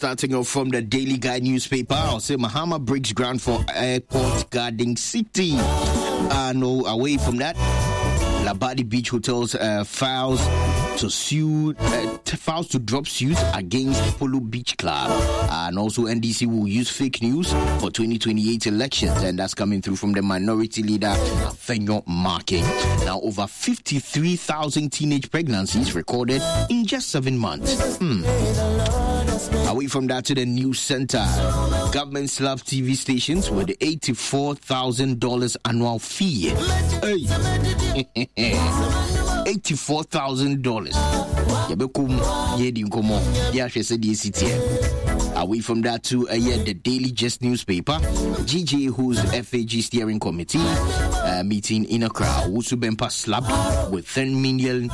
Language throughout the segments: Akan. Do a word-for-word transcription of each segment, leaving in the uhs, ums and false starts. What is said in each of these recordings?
Starting off from the Daily Guide newspaper, I'll say Mahama breaks ground for Airport Garden City. Uh, no, away from that, Labadi Beach Hotels uh, files to sue, uh, files to drop suit against Polo Beach Club, and also N D C will use fake news for twenty twenty-eight elections, and that's coming through from the minority leader Afenyo Markin. Now, over fifty-three thousand teenage pregnancies recorded in just seven months. Hmm. Away from that to the news center, government slaps T V stations with eighty-four thousand dollars annual fee. Hey. eighty-four thousand dollars. Away from that to uh, yeah, the Daily Just newspaper, G J who's F A G steering committee uh, meeting in Accra. Owusu Bempah slapped with ten million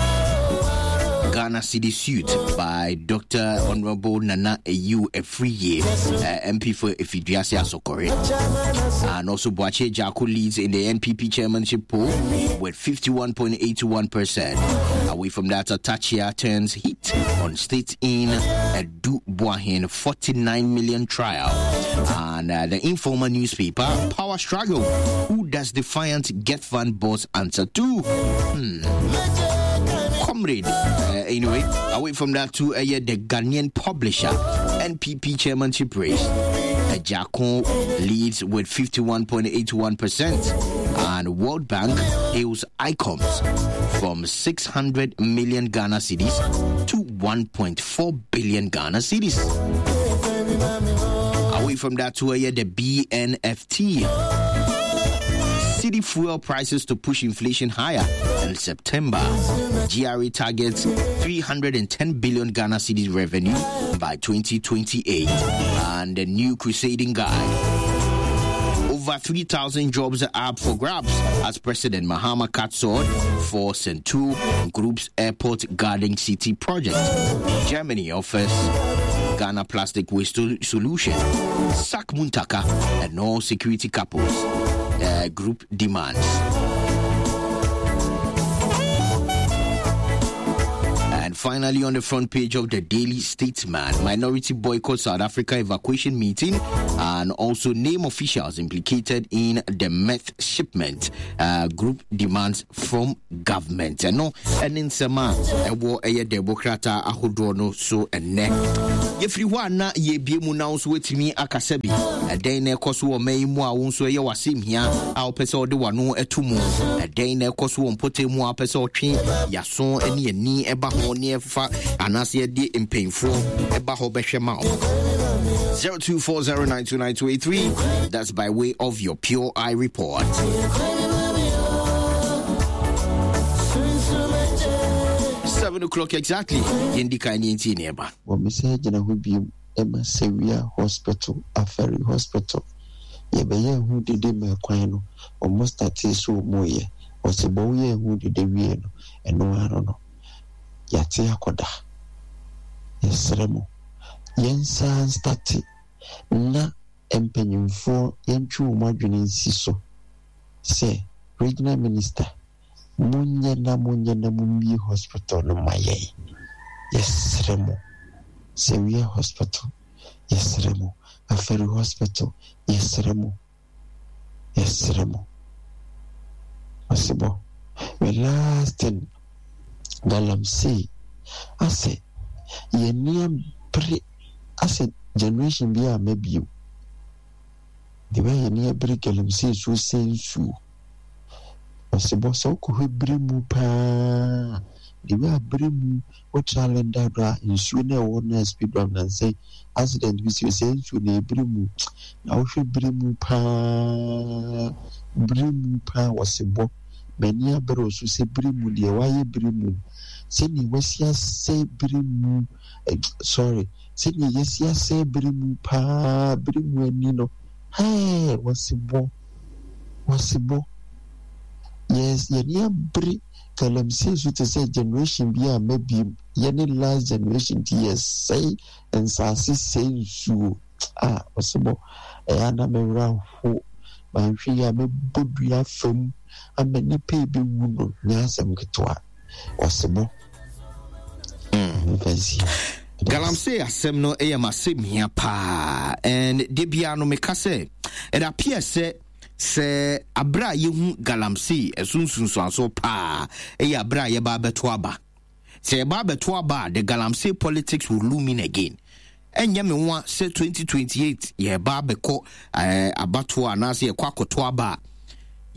Ghana Cedi suit by Doctor Honorable Nana Eyu Afriyie, uh, M P for Effiduase Asokore. And also Boakye Agyarko leads in the N P P chairmanship poll with fifty-one point eight one percent. Away from that, Atachia turns heat on state in Adu Boahen forty-nine million trial. And, uh, the informal newspaper, Power Struggle. Who does Defiant GETFund boss answer to? Hmm. Comrade. Uh, anyway, away from that to, uh, yeah, the Ghanaian publisher, N P P chairmanship race. Uh, Agyarko leads with fifty-one point eight one percent, and World Bank hails ICUMS from six hundred million Ghana cedis to one point four billion Ghana cedis. Away from that to, uh, yeah, the B N F T. City fuel prices to push inflation higher in September. G R A targets three hundred and ten billion Ghana cedis revenue by twenty twenty-eight. And the new crusading guide. Over three thousand jobs are up for grabs as President Mahama cuts sword for Sentuo Group's Airport Garden City project. Germany offers Ghana plastic waste solution. Sack Muntaka and all security couples. Uh, group demands. And finally, on the front page of the Daily Statesman, minority boycott South Africa evacuation meeting and also name officials implicated in the meth shipment. Uh, group demands from government. And no, and in Sema, a war a Democrata ahodoɔ so and ne. Yɛfiri hɔ a na yɛbie mu na wo nso woatumi akasa bi. Ɛdɛn na ɛkɔ so wɔ man yi mu a wo nso ɛyɛ w'asɛm hia a wopɛ sɛ wode w'ano ɛto mu? Ɛdɛn na ɛkɔ so wɔ mpɔtam mu a wopɛ sɛ wotwe yaso ne ani ɛba ho ne ɛfa anaasɛ yɛde mpanyimfoɔ ɛba hɔ bɛhwɛ ma wo? zero two four zero nine two nine two eight three. That's by way of your Pure Eye report. Seven o'clock exactly. Yendi kai ni nti ni eba. Wo me se gina ho bi e ma Sewia Hospital, Afari Hospital. Ye be ye hu dede ma kwan no. O mo start so mo ye. O se bo ye hu dede wie no. Eno aro no. Ya te akoda. Ye sremo. Yen san start na empanyimfo yentwe wo adwene nsi so. Se regional minister munye na munye na mumie hospital no maye. Yes remo. Sewia Hospital. Yes remo. Afari Hospital. Yes remo. Yes remo. Asibo. We last thing galamsey. Ase ye nia pre ase generation bi a mebio. The way ye nia pre galamsey so sensu. Asibo so ko hwebre mu pa. The way I bring what challenge that in sooner or na speed run and say accident with you say to the brim now should brim pa brim pa was a bo many a bros who say brim dear why brim send me was ya say brim sorry send me yes ya say brim pa brim when you know hey was a bo was a bo yes ye near bri Galamsey so to say generation bi a maybe any last generation ti yes say and sase say nsuo ah osebo e ana me wura ho manhwe ya me bodua fam amani pe bi wu no nya asem ketewa osebo. Mm. Galamsey asɛm no yɛ m'asɛm hia paa, and de bia no meka sɛ it appears sɛ sɛ abere a yɛhu galamsey ɛso nsunsuansoɔ paa ɛyɛ abere a yɛba abɛto aba. Sɛ yɛba abɛto aba a, the galamsey politics will loom in again. Ɛnyɛ me nwa sɛ twenty twenty-eight yɛba abɛkɔ ɛɛ abatoɔ anaasɛ yɛkɔ akɔto aba a,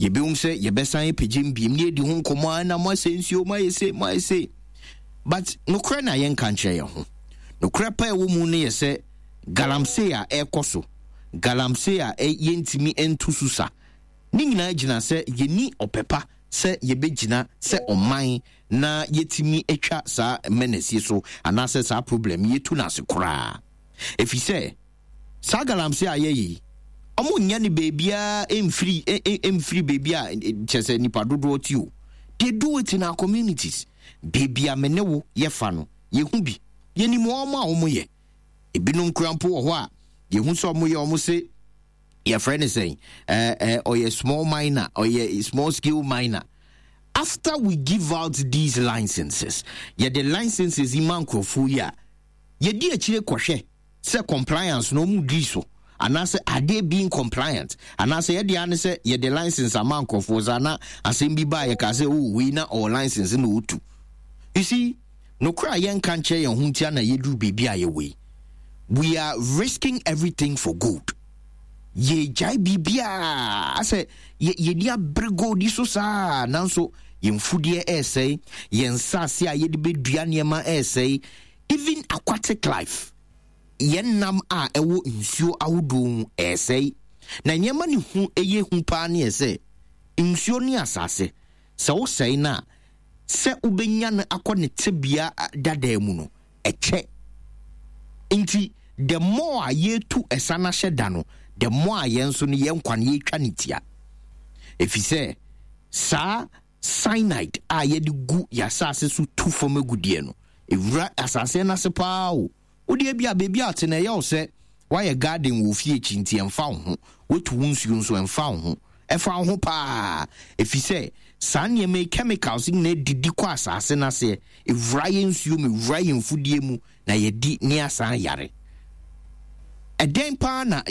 yɛbɛhu sɛ yɛbɛsan apagye mbiem ne yɛdi ho nkɔmmɔ a na mo asɛ nsuo, mo ayɛ se, mo ayɛ se. But nokorɛ na yɛnka nkyerɛ yɛn ho, nokorɛ pa ɛwɔ mu no yɛ sɛ galamsey a ɛrekɔ so, galamsey a yɛntumi nto so sa ne nyinaa gyina sɛ yɛni ɔpɛ pa sɛ yɛbɛgyina sɛ ɔman na yɛtumi atwa saa menace yi so anaasɛ saa problem yɛtu no ase koraa, ɛfiri sɛ saa galamsey a yɛyɛ yi, ɔmo nyɛ no beebiara mfiri mfiri beebi a kyerɛ sɛ nipa dodoɔ ti o. They do it in our communities. Beebi a me ne wo yɛfa no, yɛhu bi, yɛnim wɔn a wɔn yɛ. Ebinom kura mpo wɔ hɔ a yɛhu sɛ wɔn yɛ, wɔn se yɛfrɛ no sɛn, ɛɛ ɛɛ ɔyɛ small miner, ɔyɛ small scale miner. After we give out these licenses, yɛde licenses yi ma nkurɔfoɔ yi a, yɛdi akyire kɔhwɛ sɛ compliance na ɔmu di so anaasɛ are they being compliant, anaasɛ yɛde ane sɛ yɛde license ama nkurɔfoɔ saa na asɛm bi baa yɛka sɛ, oh, wei na ɔwɔ license na ɔtu. You see, nokora a yɛnka nkyerɛ yɛn ho ntia na yɛduru baabi a yɛwɔ yi. We are risking everything for gold. Yɛgyae biribiaa asɛ yɛni abere gold yi so saa, nanso yɛn mfudeɛ ɛresɛe, yɛn nsase a yɛde bɛdua nneɛma ɛresɛe, even aquatic life, yɛn nam a ɛwɔ nsuo ahodoɔ mu ɛresɛe. Na nneɛma ne hu ɛyɛ hu paa ne yɛ sɛ nsuo ne asase sɛ wosɛe no a, sɛ wobɛnya no akɔ ne tebea dadaa mu no ɛkyɛ. Nti the more a yɛtu ɛsa no ahyɛ da no, the more a yɛn nso no yɛn nkwa no yɛtwa ne tia, ɛfiri sɛ saa cyanide a yɛde gu yɛn asase so tu fam agudeɛ no ɛwura asase no ase paa o. Wodeɛ bi a baabi a te na ɛyɛ wo sɛ woayɛ garden wɔ fie akyi nti ɛmfa wo ho, woatu wo nsuo nso ɛmfa wo ho. Ɛfa wo ho paa, ɛfiri sɛ saa nneɛma yi, chemicals nyinaa didi kɔ asase no aseɛ, ɛwura yɛn nsuo mu, ɛwura yɛn mfudie mu na yɛdi ne asan yare. Ɛdɛn paa na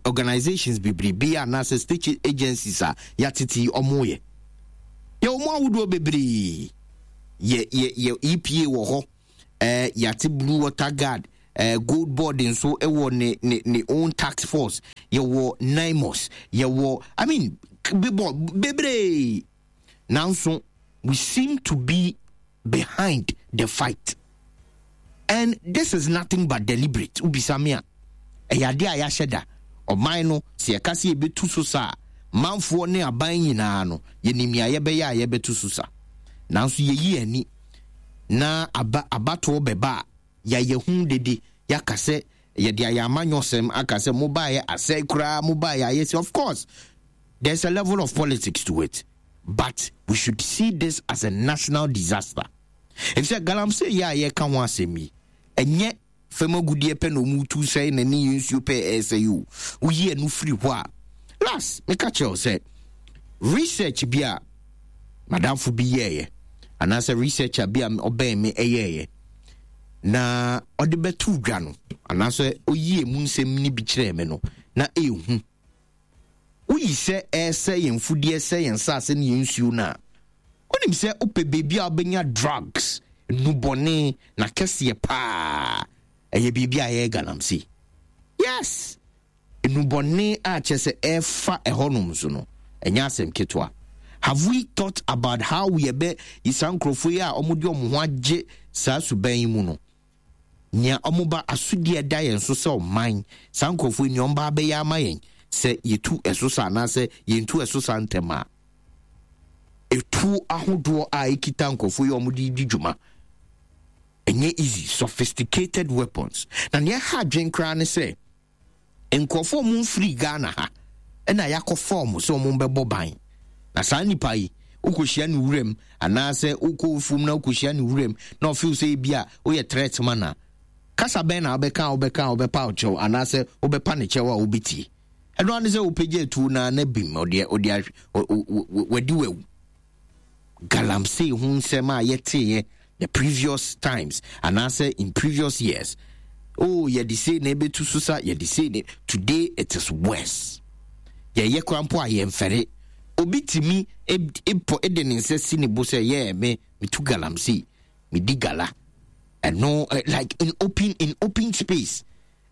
organizations bebrebe anaasɛ state agencies a yɛatete yi ɔmo yɛ? Yɛwɔ mu ahodoɔ bebree. Yɛ yɛ yɛ E P A wɔ hɔ, ɛɛ yɛate Blue Water Guard, ɛɛ Gold Board nso ɛwɔ ne ne ne own task force, yɛwɔ NAIMOS, yɛwɔ, I mean, bebɔ bebree, nanso we seem to be behind the fight, and this is nothing but deliberate. Wobisa me a, ɛyɛ adeɛ a yɛahyɛ da. Ɔman no, sɛ yɛka sɛ yɛbɛtu so sa a, manfoɔ ne aban nyinaa no yɛnim nea yɛbɛyɛ a yɛbɛtu so sa, nanso yɛyi ani na aba abatoɔ bɛba a, yɛayɛ hu dede, yɛaka sɛ yɛde ayɛ amanyɔsɛm, aka sɛ mobaeɛ asɛe koraa, mobaeɛ ayɛ sɛ. Of course there's a level of politics to it, but we should see this as a national disaster, ɛfisɛ galamsey yɛ a yɛka ho asɛm yi, ɛnyɛ fam agudeɛ pɛ na ɔmu tu sɛe na ne yɛ nsuo pɛ ɛsɛe o. Woyi ɛno firi hɔ a, last meka kyerɛ wo sɛ research bi a madamfo bi yɛɛyɛ anaasɛ researcher bi a ɔbɛn me ɛyɛɛyɛ na ɔde bɛto dwa no anaasɛ oyie mu nsɛm no bi kyerɛɛ me no, na ɛɛhu woyi sɛ ɛsɛ yɛn mfudeɛ, sɛ yɛn nsase ne yɛn nsuo no a, wonim sɛ wopɛ baabi a wobɛnya drugs nnubɔne na kɛseɛ paa, ɛyɛ biribi a ɛyɛ galamsey. Yes, nnubɔne a kyerɛ sɛ ɛfa ɛhɔnom so no, ɛnyɛ asɛm ketewa. Have we thought about how yɛbɛ saa nkurɔfoɔ yi a wɔde wɔn ho agye saa suban yi mu no, nea wɔn asodie ɛda yɛn so sɛ ɔman, saa nkurɔfoɔ yi nea wɔn ba abɛyɛ ama yɛn sɛ yɛtu ɛso sa anaasɛ yɛntu ɛso sa ntɛm a, etuo ahodoɔ a ekita nkurɔfoɔ yi a wɔde di dwuma ɛnyɛ easy, sophisticated weapons. Na nea ɛha adwen koraa ne sɛ nkurɔfoɔ mu mfiri Ghana ha ɛna yɛakɔ fɔm sɛ wɔn bɛbɔ ban, na saa nipa yi wokɔhyia ne wuram anaasɛ wokɔ fum na wokɔhyia ne wuram na ɔfeel sɛ ebi a woyɛ threat ma na kasa bɛn na wobɛka a wobɛka a wobɛpa wo kyɛw anaasɛ wobɛpa ne kyɛw a wobɛtie? Ɛno ane sɛ wopɛgya atuo naa na bim ɔde ɔde wadi wawu. Galamsey ho nsɛm a yɛteeɛ The previous times anaasɛ in previous years, oh, yɛde sei na ɛbɛtu so sa, yɛde sei ne. Today it is worse. Yɛyɛ kora mpo a, yɛmfɛre. Obi tumi pɔ de ne nsa si ne bo sɛ yɛ me metu galamsey, medi gala ɛno, like in open in open space.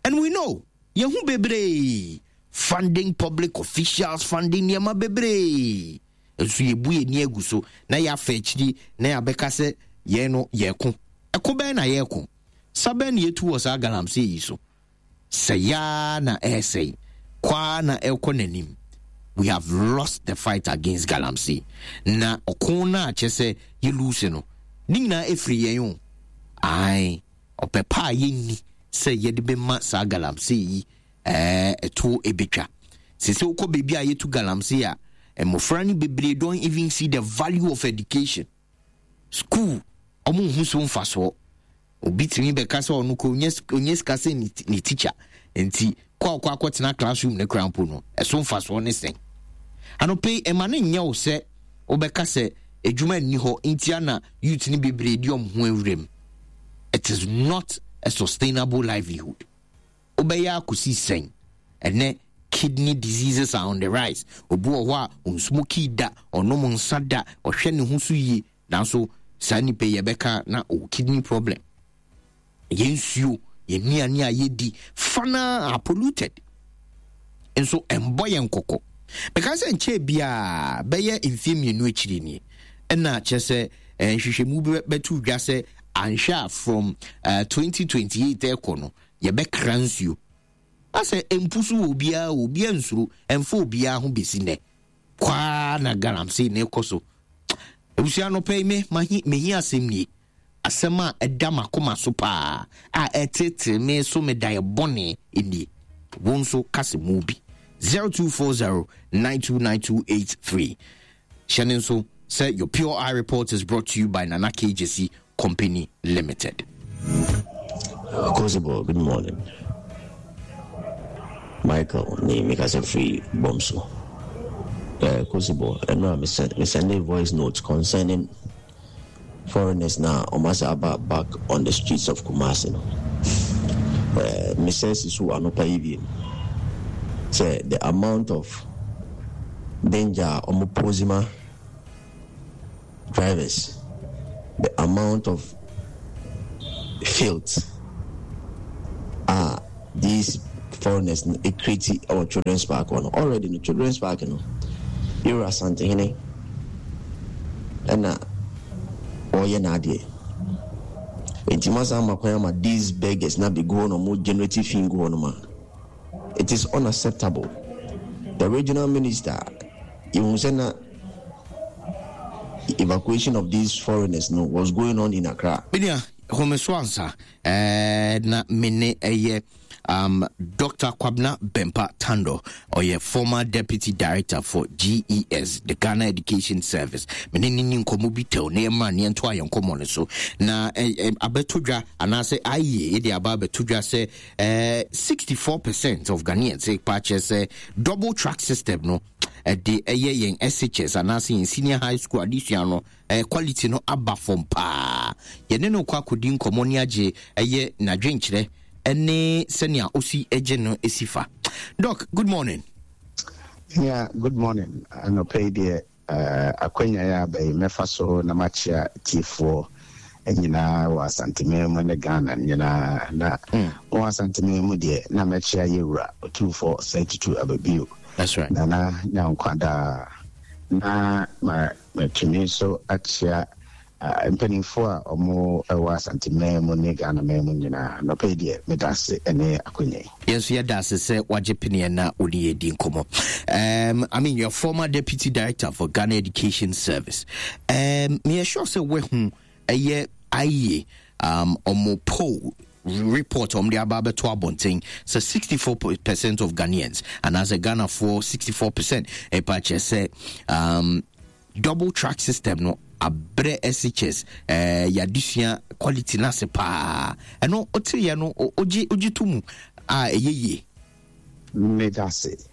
And we know yɛhu bebree funding public officials, funding nneɛma bebree nso. Yɛbu yɛn ni agu so na yɛafa akyiri na yɛabɛka sɛ yɛn no yɛko. Ɛko bɛn na yɛko? Sa bɛn na yɛtu wɔ saa galamsey yi so? Sɛ yaa na ɛresɛe kwaa na ɛrekɔ n'anim. We have lost the fight against galamsey, na ɔko no a kyerɛ sɛ yɛlose no ne nyinaa ɛfiri yɛn o. Ae, ɔpɛ pa a yɛnni sɛ yɛde bɛma saa galamsey yi ɛɛ ɛto ɛbɛtwa sɛ sɛ wokɔ baabi a yɛtu galamsey a, mmɔfra no bebree don't even see the value of education. School, ɔmo nhu so mfasoɔ. Obi tumi bɛka sɛ ɔno kɔ onye sika sɛ ne teacher, nti kɔ akɔ akɔtena classroom ne kora mpo no, ɛso mfasoɔ ne sɛn? Anɔpɛ yi, ɛma no nyɛ wo sɛ wobɛka sɛ adwuma nni hɔ nti ana youth no bebree di ɔmo ho awuram. It is not a sustainable livelihood. Wobɛyɛ akɔsi sɛn? Ɛnɛ kidney diseases are on the rise. Obi wɔ hɔ a ɔnsmoke da, ɔnom nsa da, ɔhwɛ ne ho so yie, nanso saa nipa yi yɛbɛka na ɔwɔ kidney problem. Yɛn nsuo, yɛn nnuane a yɛdi fana are polluted nso, ɛmbɔ yɛn kɔkɔ. Meka sɛ nkyɛn biara bɛyɛ mfeɛ mmienu akyiri nie, ɛna kyerɛ sɛ nhwehwɛmu bɛto dwa sɛ anhwɛ a from uh, twenty twenty-eight ɛkɔ no, yɛbɛkra nsuo asɛ mpu so wɔ obiara. Obiara nsuro, ɛmfa obiara ho. Bɛsi nnɛ kwaa na galamsey na ɛkɔ so. Abusua no pɛ me mehi asɛm nie, asɛm a ɛda m'akoma so paa a ɛtetee me so me da bɔne nie. Wo nso kase mu bi, zero two four zero nine two nine two eight three. Hyɛ ne nso sɛ your Pure Eye Report is brought to you by Nana K J C Company Limited. Kosibo, good morning. Michael ne mekasa firi bɔm so. Uh, Kosibo, ɛno a me send a voice note concerning foreigners na ɔmo aba back on the streets of Kumasi no. Uh, mesɛ si so anɔpa yi bi sɛ the amount of danger a ɔmo pose ma drivers, the amount of filth ah these foreigners no create ɛwɔ Children's Park hɔ no. Already no, Children's Park no, yɛwura Asantehene ɛna ɔreyɛ n'adeɛ, nti masa ama kwan ama these beggars na bɛgu hɔ na ɔmo generate fi gu hɔ no ma it is unacceptable. The regional minister, yehu sɛ na evacuation of these foreigners no was going on in Accra. Binia home so ansa ɛɛ na mene ɛyɛ um, Doctor Kwabena Bempa Tando, ɔyɛ former deputy director for G E S, the Ghana Education Service. Mene ne ni nkɔmmɔ bi tɛw na yɛmmra ne yɛnto ayɛ nkɔmmɔ no so na eh, eh, abɛto dwa anaasɛ ayie yɛde aba abɛto dwa sɛ eh, sixty-four percent of Ghanaians pa kyerɛ sɛ double track system no ɛde ɛyɛ yɛn S H S anaasɛ yɛn senior high school adesua no eh, quality no aba fam paa. Yɛne no kɔ akɔdi nkɔmmɔ ne agye ɛyɛ n'adwenkyerɛ ɛne sɛnea osi agye no esi fa. Doc, good morning. Yeah, good morning. Anɔpɛ yi deɛ, uh, akwanya yɛ aba yi, mɛfa so na makyea tiefoɔ nyinaa wɔ Asanteman mu ne Ghana nyinaa. Na mm. wɔ Asanteman mu deɛ, na mɛkyea yɛwura Otumfoɔ Osei Tutu Ababio. That's right. Nana Nyankwadaa. Na ma matumi nso akyea uh, mpanimfoɔ a ɔmo ɛwɔ Asanteman mu ne Ghana man mu nyinaa. Nɔpɛ yi deɛ, meda ase ne akwanya yi. Yɛn nso yɛda ase sɛ wagye peneɛ na wode yɛdi nkɔmmɔ. um, I mean, you're former deputy director for Ghana Education Service. um, meyɛ sure sɛ woahu ɛyɛ ayie um, ɔmo poll report ɔmo de aba abɛto abɔnten sɛ sixty-four percent of Ghanaians anaasɛ Ghanafoɔ sixty-four percent ɛpa kyerɛ sɛ um, double track system no abrɛ S H S eh, yɛadesua quality no ase paa. Ɛno woteyɛ no, ogye ogye to mu a ɛyɛ yie? Meda ase.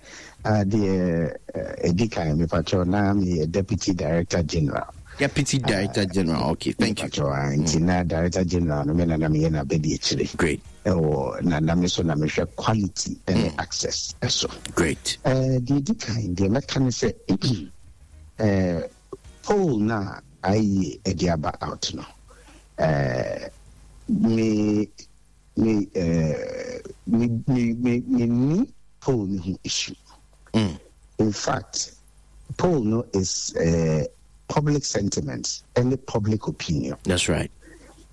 uh, deɛ ɛdi kan, mepakyɛw, na meyɛ deputy director general. Deputy Director uh, General. Okay, thank you. Nti na Director General no me na na meyɛ n'abɛdi akyire. Great. Ɛwɔ na na me so na mehwɛ quality ɛne mm. access ɛso. Great. Ɛɛ deɛ di kan deɛ mɛka ne sɛ ɛɛ poll na I E A ɛde aba out no, ɛɛ me me ɛɛ me me me me ni poll ne ho issue. Mm. In fact, poll no is uh, public sentiment and public opinion. That's right.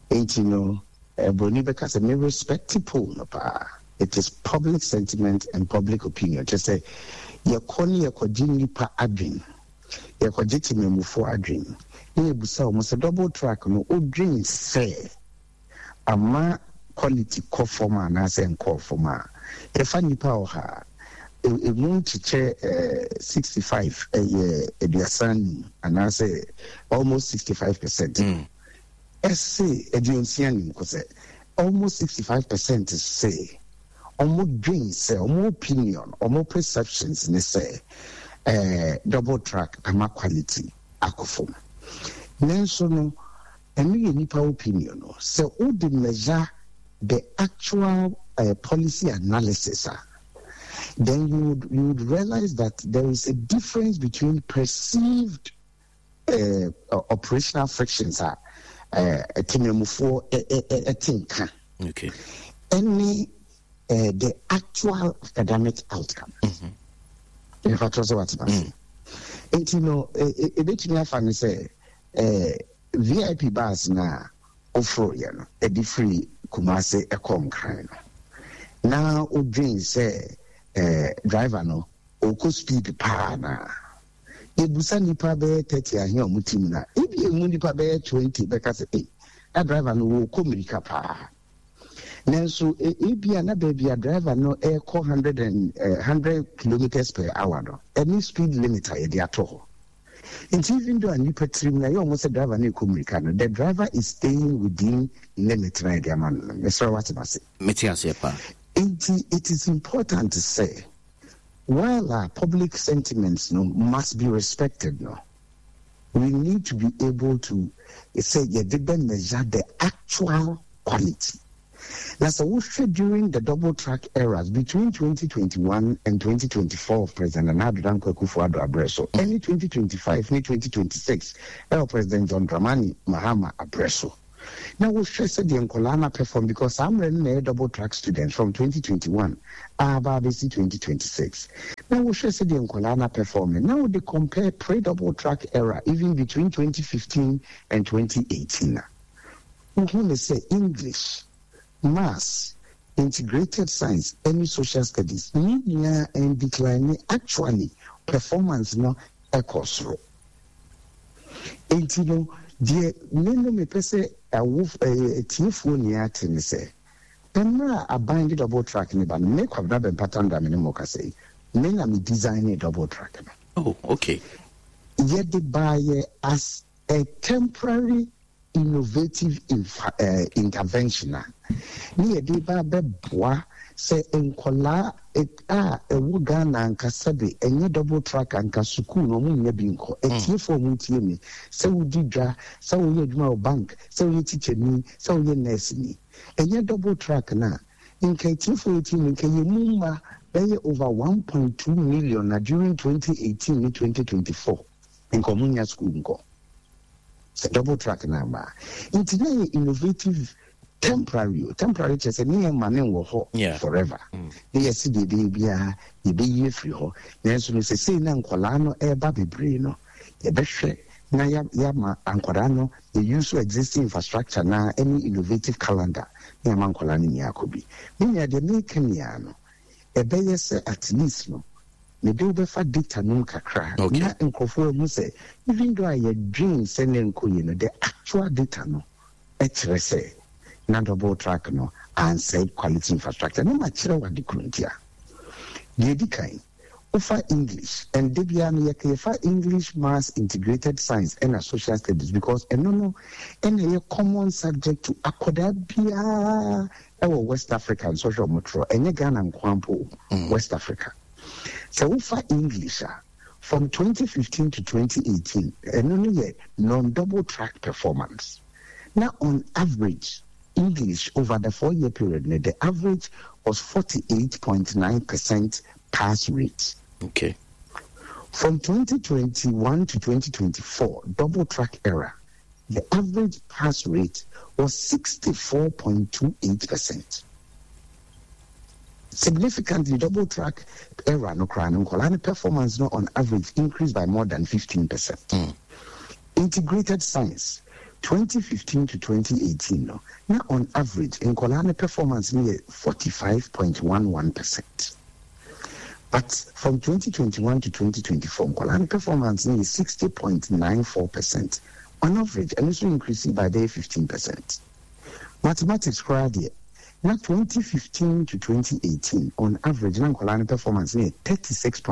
Nti no, broni bɛka sɛ me respect poll no paa. It is public sentiment and public opinion. Kyerɛ sɛ yɛkɔ ne yɛkɔgye nnipa adwen, yɛkɔgye temamufoɔ adwen, na yɛbusa wɔn sɛ double track no, wodwen sɛ ama quality kɔ fam anaasɛ nkɔɔ fam a, yɛfa nnipa ɔha a, emu nkyekyɛ sixty five ɛyɛ aduasa num anaasɛ almost sixty five percent. Ɛsɛ aduonsia num kɔ sɛ almost sixty five percent sɛ ɔmo dwen sɛ ɔmo opinion, ɔmo perceptions ne sɛ ɛɛ double track ama quality akɔ fam. Nanso no, ɛno yɛ nipa opinion no. Sɛ wode measure the actual uh, policy analysis a, then you would, you would realize that there is a difference between perceived uh, operational frictions a temamufoɔ ɛte nka Okay. ɛne uh, the actual academic outcome. Ɛfa kyerɛ sɛ watena ase. Nti no, ɛbɛtumi afa no sɛ eh, V I P bus na woforoyɛ no ɛde firi Kumase ɛkɔ Nkran no, na wodwen sɛ eh, driver no ɔkɔ speed paa na yɛbusa nipa bɛyɛ thirty ahe a ɔmo tim na ebi emu nipa bɛyɛ twenty bɛka sɛ, "Ei, na driver no wɔkɔ mmirika paa." Nanso ebi a na baabi a driver no ɛrekɔ hundred and hundred kilometres per hour no, ɛne speed limit a yɛde ato hɔ. Nti even though a nipa tirim na ɛyɛ ɔmo sɛ driver no ɛkɔ mmirika no, the driver is staying within limit na yɛde ama no no Mesrɛ wate ase? Mete aseɛ paa. Nti it is important to say, while our public sentiments no must be respected no, we need to be able to say yɛde bɛ measure the actual quality. Na sɛ wohwɛ during the double track eras between twenty twenty-one and twenty twenty-four of President Nana Addo Dankwa Akufo-Addo abrɛ so, ɛne twenty twenty-five ne twenty twenty-six ɛwɔ President John Dramani Mahama abrɛ so, na wohwɛ sɛdeɛ nkɔlaa no perform, because saa mmerɛ no na ɛyɛ double track students from twenty twenty-one aba abɛsi twenty twenty-six, na wohwɛ sɛdeɛ nkɔlaa no perform, na wode compare pre-double track era, even between twenty fifteen and twenty eighteen a, wohu ne sɛ English, Maths, Integrated Science ɛne Social Studies ne nyinaa ɛn decline. Actually, performance no ɛkɔ soro. Nti no, deɛ me no mepɛ sɛ ɛwo ɛyɛ atiefoɔ nyinaa te ne sɛ, mmerɛ a aban de double track ne ba no, me Kwabena Bempah Tandoh me ne mo kasa yi, me na me design ne double track no. Oh, okay. Yɛde baayɛ as a temporary innovative infa, uh, intervention a ne yɛde ba bɛboa sɛ nkɔlaa a ɛwɔ Ghana ankasa de ɛnyɛ double track anka sukuu na ɔmo nya bi nkɔ. Atiefoɔ a ɔmo tie mi, sɛ wodi dwa, sɛ woyɛ adwuma wɔ bank, sɛ woyɛ tikyani, sɛ woyɛ nurse ni, ɛnyɛ double track na nka atiefoɔ yɛ tie mi, nka yɛ mu mma bɛyɛ over one point two million na during twenty eighteen ne twenty twenty four nka ɔmo nya sukuu nkɔ sɛ double track na aba. Nti na yɛ innovative temporary o, temporary kyerɛ sɛ ne yɛ ma ne wɔ hɔ Yeah. forever, ne yɛ si deɛ ɛbɛyɛ biara yɛbɛyi afiri hɔ. Nanso no, sɛsei na nkɔlaa no ɛreba bebree no, yɛbɛhwɛ na ya- yɛama nkɔlaa no yɛ use existing infrastructure na ɛne innovative calendar na yɛama nkɔlaa no nyinaa akɔ bi. Me nua, deɛ meka nyinaa no, ɛbɛyɛ sɛ at least no mede wobɛfa data nom kakra Okay. na nkurɔfoɔ ahu sɛ even though a yɛdwen sɛ ne nkɔ yie no, the actual data no ɛkyerɛ sɛ na double track no ansɛe quality infrastructure. Na makyerɛ wo ade koro nti a. Deɛ ɛdi kan, wofa English and de biara no yɛka yɛfa English, Maths, Integrated Science ɛna Social Studies, because ɛno no ɛna ɛyɛ common subject to akwadaa biara ɛwɔ West Africa. Nsɔhwɛ ɔmotorɔ ɛnyɛ Ghana nko mpo o, West Africa. Sɛ wofa English a, From twenty fifteen to twenty eighteen, ɛno no yɛ non-double track performance. Now, on average, English over the four year period no, the average was forty-eight point nine percent pass rate. Okay. From twenty twenty-one to twenty twenty-four, double track era, the average pass rate was sixty-four point two eight percent. Significantly, double track era no koraa no, nkɔlaa no performance no on average increased by more than fifteen percent. Mm. Integrated science, twenty fifteen to twenty eighteen no, na on average nkɔlaa no performance no yɛ forty-five point one one percent. But from twenty twenty-one to twenty twenty-four, nkɔlaa no performance no yɛ sixty point nine four percent on average, and also increasing by bɛyɛ fifteen percent. Mathematics koraa deɛ, na twenty fifteen to twenty eighteen, on average na nkɔlaa no performance no yɛ thirty-six.